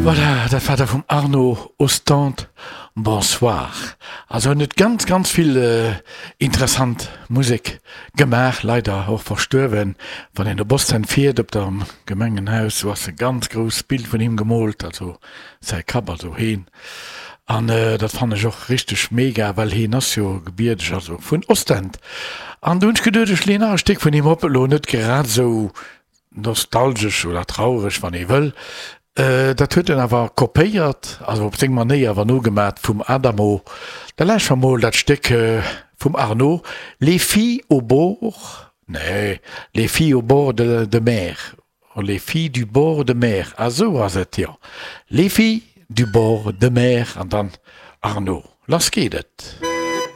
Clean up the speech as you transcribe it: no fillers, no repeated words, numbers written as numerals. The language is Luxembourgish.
Voilà, dat war da vum Arno Ostende Bonsoir. Also en huet ganz, ganz vill interessant Musek gemaach, leider och verstuerwen. Wann een op Ostend fiert, op der Gemengenhaus, do ass e ganz grousst Bild vun him gemoolt, also säi Kapp, also heen. An dat fannen ech och richteg mega, well heen ass jo gebierdeg, also vun Ostend. An do hunn ech geduet, ech leeën nach e Stéck vun him op, elo net grad esou nostalgesch oder traureg, wann ee wëll. Dat huet en awer kopéiert, also op seng Manéier awer nogemat vum Adamo. Da lauschteren mer mol dat Stéck vum Arno, Les filles au bord, nee, Les filles au bord de de mer, Les filles du bord de mer, ah sou ass et, jo, Les filles du bord de mer an dann Arno. Lass geet et!